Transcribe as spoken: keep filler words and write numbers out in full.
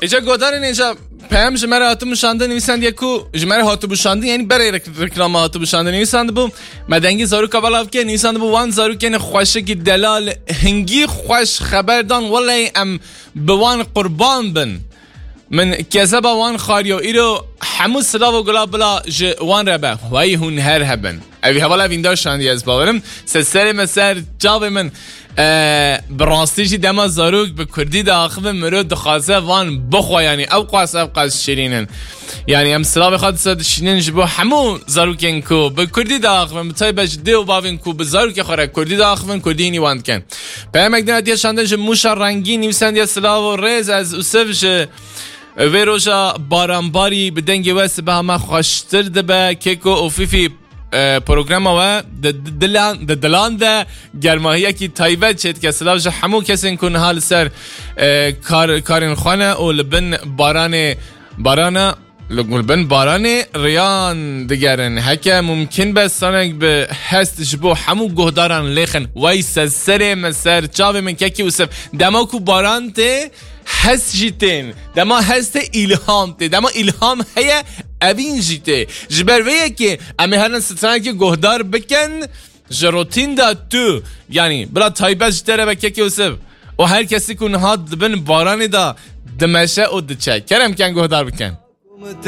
Îca godarên îca peyam ji me re hatibû şandin, nivîsandiye ku ji me re hatibû şandin, yanî berê rek-, reklama hatibû şandin, nivîsandibû, me dengê zaroka belav kir, nivîsandibû wan zarokên xweşikî delal hingî xweş xeber dan, welay em bi wan qurban bin. Min kezeba wan xwariyo, îro hemû silav û gula bila ji wan re be. Wey hûn her hebin. Evî hevala vîndar şandiye ez bawerim. Se serê me ser çavê min. E, bi rastî jî dema zarok bi kurdî diaxivin, mirov dixwaze van bixwe, yanî ew qas, ew qas şirîn in. Yanî em silavê xwe disa dişînin ji bo hemû zarokên ku bi kurdî diaxivin, bi taybet ji dê û bavên ku bi zarokê xwe re kurdî diaxivin, kurdî hînî wan dikin. Peyamek din hatiye şandin ji Mûşa Rengîn, nivîsandiye silav û rêz, ez Ûsiv ji vê roja baranbarî bi dengê we sibeha me xweştir dibe. Keko û Fîfî, e, programa we di dilan, di dilan de germahiyekî taybet çêdike. Silav ji hemû kesên ku niha li ser, e, kar, karên xwe ne û li bin baranê, barana, li, li bin baranê riyan digerin. Heke mumkin be sanek bi hest ji bo hemû guhdaran lêxin. Wey se serê min ser çavê min kekî Ûsiv. Dema ku baran tê, hest jî tên. Dema hest tê, îlham tê. Dema îlham heye, evîn jî tê. Ji ber vê yekê em ê herin stranekî guhdar bikin. Ji rotîn de tu, yanî bila taybet ji te re be kekê Ûsiv. Û her kesî ku niha di bin baranê de dimeşe û diçe. Kerem ken guhdar bikin.